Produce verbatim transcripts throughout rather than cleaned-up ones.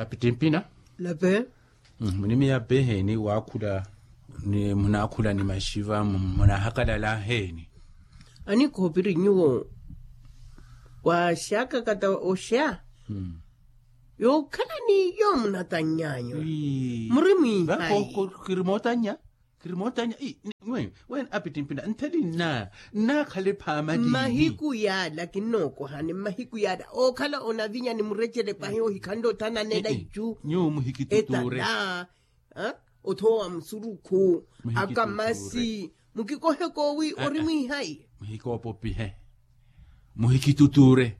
Apittimpina. Lape. Munimiya peheeni waakhula? Ni munaakhula ni maxiva munahakalala heeni? Anikhoopiri nyuwo waaxakakata oxa. Yookhala ni yoomunatannyanyu. Muri mwihayi. Kiri mootannya. Kiri mootannya. Wene apittimpina ntheli nna nnaakhale phaama ni mahiku yaala kinnookohani mmahiku yaala ookhala onavinya ni murecele pahi ohikhanle othananela icu. Nyuwo muhikitutuure. Etala. Othoowa musurukhu. Akamasi. Mukikohe koowi ori mwihayi. Muhikoopopihe. Muhikitutuure.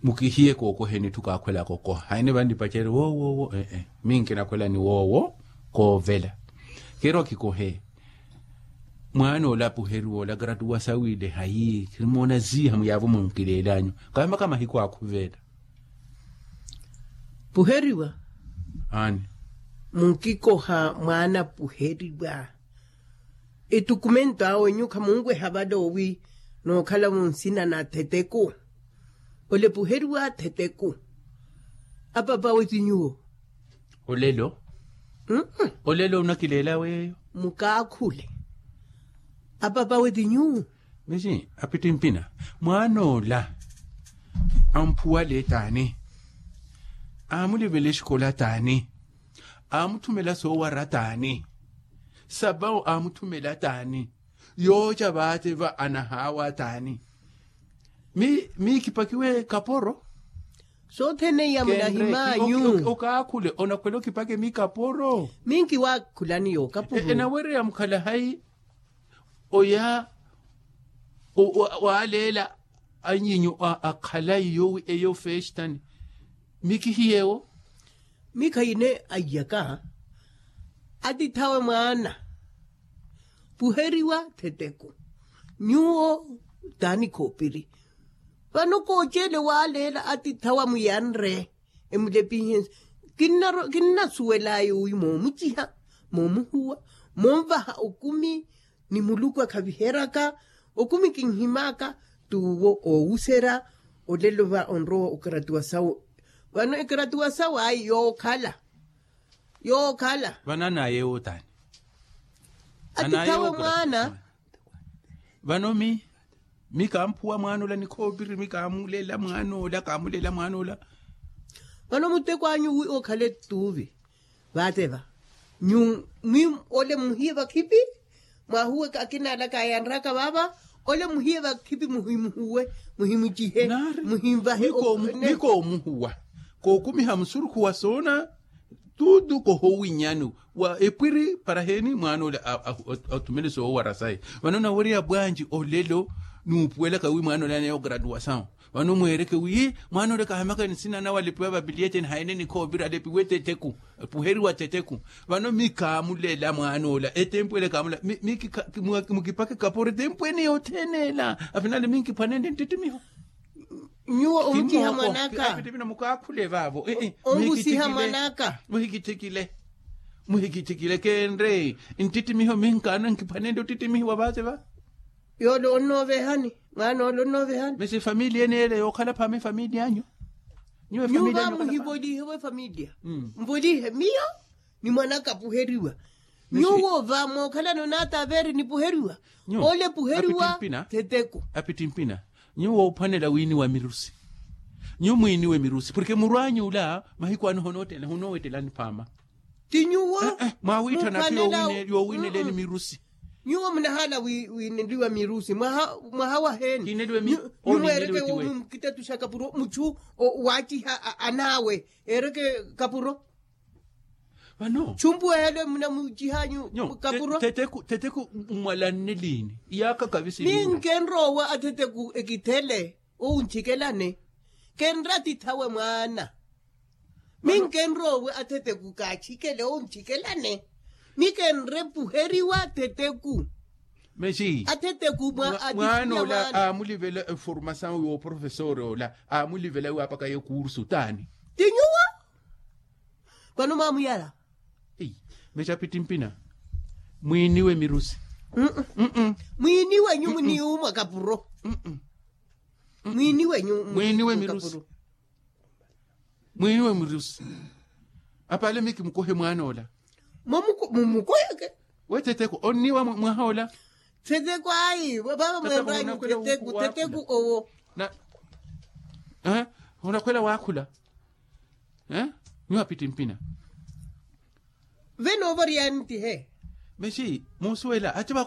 Mukihiye kookoheni etthu kaakhwelaka okoha haine vannipacerye woowo woowo ee. Minkinakhwelani woowo koovela. Keerwa kikohe. Mwaana ola apuheriwa ola gratuwa sawiile hayi khirimoona ziiha muyaavo munkileelanyu. Kaamaka mahiku akhuvela. Puheriwa. Aani. Munkikoha mwaana puheriwa. Ettukumento awe nyuwo khamunweha vale owi nookhala munsina na theteku. Ole puheriwa theteku. Apapawe ti nyuwo. Olelo. Olelo onakileela weeyo. Mukaakhule. Apapawe ti nyuwo. Misi apittimpina mwaan'ola amphuwale taani? Aamulivela exikola taani? Aamutthumela soowara taani? Sapa aamutthumela taani? Yooca vaate va anahaawa taani? Miikipakiwe kaporo. Sothene iya munahimanyu. Okaakhule onakhwela okipake miikaporo. Minkiwaakhulani yookapuru. Enawereya mukhala hayi? Oya waaleela anyinyu a khalayi yoowi eyo feestani. Mikihiyewo. Mikhayine aiyaka. Atithawe mwaana. Puheriwa theteku. Nyuwo taani khoopiri. Vano kooceele waaleela atithawa muyanre. Emulepihense. Kinnasuwelaya owi moomuciha moomuhuwa moonvaha okumi. Ni muluku akhaviheryaka okumi kinhimaka. Tuwo oowuserya olelo va onrowa okaratuwa sawo. Vano ekaratuwa sawo ayi yookhala. Yookhala vano anayewo taani? Atithawe mwaana. Vano mi mi kaamphuwa mwaan'ola ni khoopiri mi kaamulela mwaan'ola kaamulela mwaan'ola. Vano muteko anyu wi okhale tuuvi. Vaate va nyu mwi ole muhiye vakhipi. Mwahuwe akina ala kaayanraka vaava. Ole muhiye vakhipi muhimuhuwe muhimucihe. Muhimvahe. Mikoomuhuwa kookumiha musurukhu wa soona. Tuutu kohowinyani wa epwiri para heeni mwaan'ole athumele soowara saye. Vano nawerya bwanji olelo nuupuwelaka wi mwaan'ole aneya ograduwasawu. Vano mweereke wi mwaan'ole kahamaka nsina nawe alepiwa vapiliyeteni haine nikhoopira alepiwe teteku. Epuheriwa teteku. Vano mi kaamulela mwaan'ola etempu ele kaamulela. Mukipake kaporo etempu ene yothene ela afinale minkiphwanenle nttittimiho. Nyuwo omuciha mwanaka. Mukaakhule vaavo. Ongusiha mwanaka. Muhikitthikile. Muhikitthikile kenre nttittimiho minkaana nkiphwanenle ottittimihiwa vaate va. Yoole onnoovehani. Mwaana ole onnoovehani mesi efamiliya ene ele yookhala phaama efamiliya anyu. Nyuwo va muhivolihewe efamiliya. Mvolihe miyo ni mwanaka apuheriwa. Nyuwo va mookhalana onaata aveeri nipuheriwa. Ole puheriwa. Theteku. Apittimpina nyuwo ophwanela wiiniwa mirusi. Nyuwo mwiiniwe mirusi porke murwaany'ula mahiku ano honoowetelani phaama. Ti nyuwo mwaawiitthana ati yoowiineleeni mirusi. Nyuwo munahaala wiineliwa mirusi mwaha waheeni? Nyuwo mweereke woomi mukitatuxa kapuro muchu waaciha anaawe eereke kapuro. Vano chumpuwehele munamucihanyu kapuro. Theteku mmwalanne liini? Iyaaka kavisi minkenroowa atheteku ekithele. Owu ntxikelane kenre atithawe mwaana. Minkenroowe atheteku kaatxikele owu ntxikelane. Mikenre puheriwa atheteku. Mesi atheteku mwaana ola aamulivela eformasawu yooprofesori ola aamulivela wi apakaye kursu taani? Ti nyuwo. Vano mwaamuyala. Mexapittimpina mwiiniwe mirusi. Mwiiniwe nyumu ni umwa kapuro. Mwiiniwe nyumu mwiiniwe mirusi. Mwiiniwe mirusi. Apaale miyo kimukuhe mwaana ola. Mumukuheke. We teteko onniwa mwahoola. Teteko ayi vava mwembanyu teteko teteko owo. Onakhwela waakhula. Nyuwa pitti mpina. Venoovoriyanittihe. Mexi muusuwela aci